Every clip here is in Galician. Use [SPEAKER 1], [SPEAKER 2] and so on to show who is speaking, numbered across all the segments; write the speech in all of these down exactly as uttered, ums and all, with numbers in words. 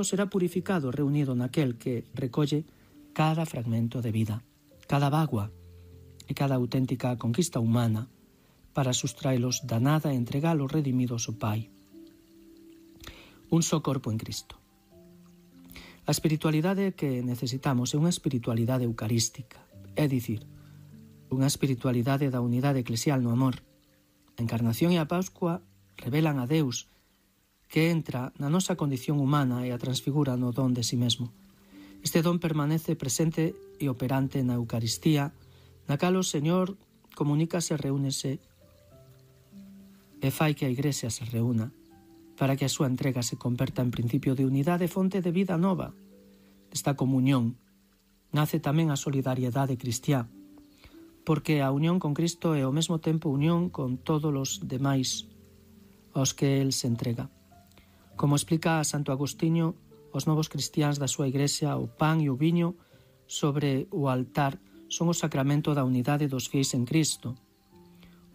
[SPEAKER 1] será purificado reunido naquel que recolle cada fragmento de vida, cada bagua e cada auténtica conquista humana para sustraelos da nada e entregalos redimidos ao Pai. Un só corpo en Cristo. A espiritualidade que necesitamos é unha espiritualidade eucarística, é dicir, unha espiritualidade da unidade eclesial no amor. A encarnación e a Pascua revelan a Deus que entra na nosa condición humana e a transfigura no don de si mesmo. Este don permanece presente e operante na Eucaristía, na cal o Señor comunícase, reúnese e fai que a Igrexa se reúna, para que a súa entrega se converta en principio de unidade e fonte de vida nova. Desta comunión nace tamén a solidariedade cristiá, porque a unión con Cristo é ao mesmo tempo unión con todos os demais aos que el se entrega. Como explica Santo Agostinho, os novos cristiáns da súa Igrexa, o pan e o viño sobre o altar son o sacramento da unidade dos fiéis en Cristo.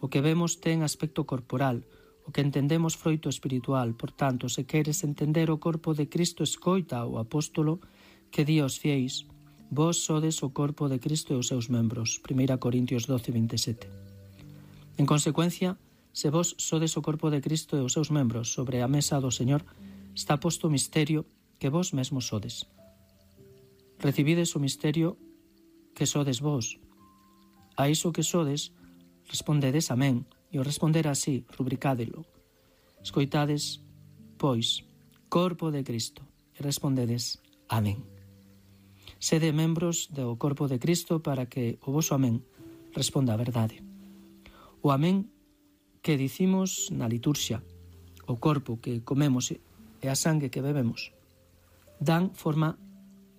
[SPEAKER 1] O que vemos ten aspecto corporal, o que entendemos froito espiritual. Por tanto, se queres entender o corpo de Cristo, escoita o apóstolo que di aos fiéis: vos sodes o corpo de Cristo e os seus membros. primeira Corintios doce, veintisiete. En consecuencia, se vos sodes o corpo de Cristo e os seus membros, sobre a mesa do Señor está posto o misterio que vos mesmos sodes. Recibides o misterio que sodes vos. A iso que sodes, respondedes amén, e o responder así, rubricádelo. Escoitades, pois, corpo de Cristo, e respondedes amén. Sede membros do corpo de Cristo para que o voso amén responda a verdade. O amén que dicimos na liturxia, o corpo que comemos e a sangue que bebemos, dan forma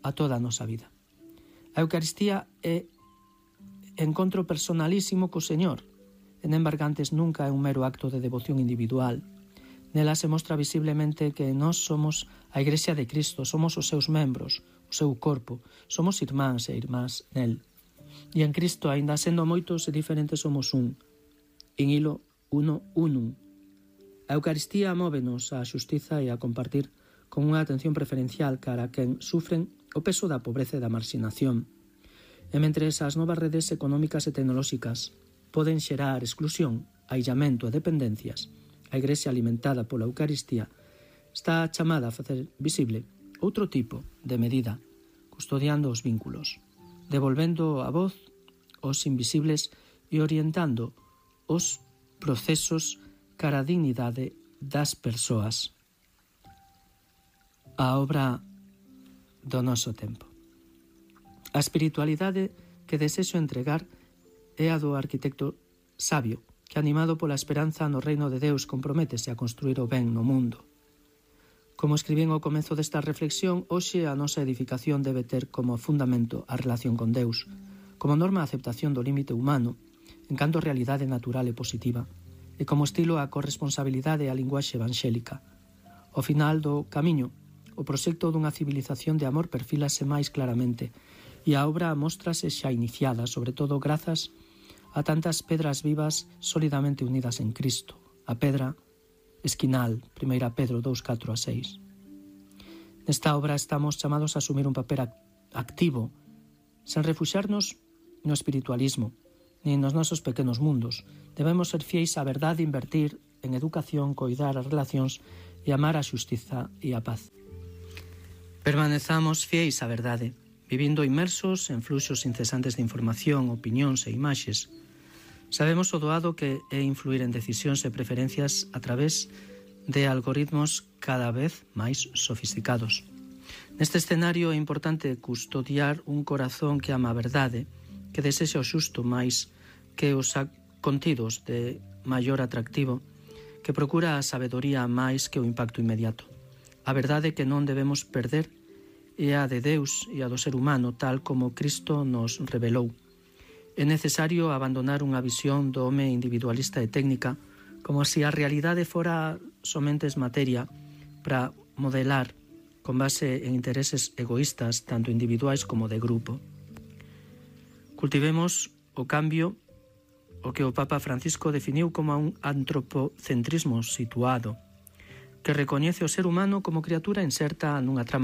[SPEAKER 1] a toda a nosa vida. A Eucaristía é encontro personalísimo co Señor, e non embargantes nunca é un mero acto de devoción individual. Nela se mostra visiblemente que nós somos a Igrexa de Cristo, somos os seus membros, o seu corpo, somos irmáns e irmás nel. E en Cristo, aínda sendo moitos e diferentes, somos un. In hilo uno unum. A Eucaristía móvenos á xustiza e a compartir con unha atención preferencial cara a quen sufren o peso da pobreza e da marxinación. E mentres as novas redes económicas e tecnolóxicas poden xerar exclusión, aillamento e dependencias, a Igrexa alimentada pola Eucaristía está chamada a facer visible outro tipo de medida, custodiando os vínculos, devolvendo a voz aos invisibles e orientando os procesos cara a dignidade das persoas. A obra do noso tempo. A espiritualidade que desexo entregar é a do arquitecto sabio, que animado pola esperanza no reino de Deus comprométese a construir o ben no mundo. Como escribín ao comezo desta reflexión, hoxe a nosa edificación debe ter como fundamento a relación con Deus, como norma a aceptación do límite humano, en canto realidade natural e positiva, e como estilo a corresponsabilidade e a linguaxe evangélica. Ao final do camiño, o proxecto dunha civilización de amor perfílase máis claramente, e a obra móstrase xa iniciada, sobre todo grazas a tantas pedras vivas solidamente unidas en Cristo. A pedra esquinal, primeira Pedro dous, catro a seis. Nesta obra estamos chamados a asumir un papel activo, sen refuxarnos no espiritualismo, nin nos nosos pequenos mundos. Debemos ser fiéis á verdade, invertir en educación, coidar as relacións e amar a xustiza e a paz. Permanezamos fiéis á verdade, vivindo inmersos en fluxos incesantes de información, opinións e imaxes. Sabemos o doado que é influir en decisións e preferencias a través de algoritmos cada vez máis sofisticados. Neste escenario é importante custodiar un corazón que ama a verdade, que desexa o xusto máis que os contidos de maior atractivo, que procura a sabedoría máis que o impacto inmediato. A verdade que non debemos perder é a de Deus e a do ser humano, tal como Cristo nos revelou. É necesario abandonar unha visión do home individualista e técnica, como se a realidade fora somente materia para modelar con base en intereses egoístas, tanto individuais como de grupo. Cultivemos o cambio, o que o Papa Francisco definiu como un antropocentrismo situado, que recoñece o ser humano como criatura inserta nunha trama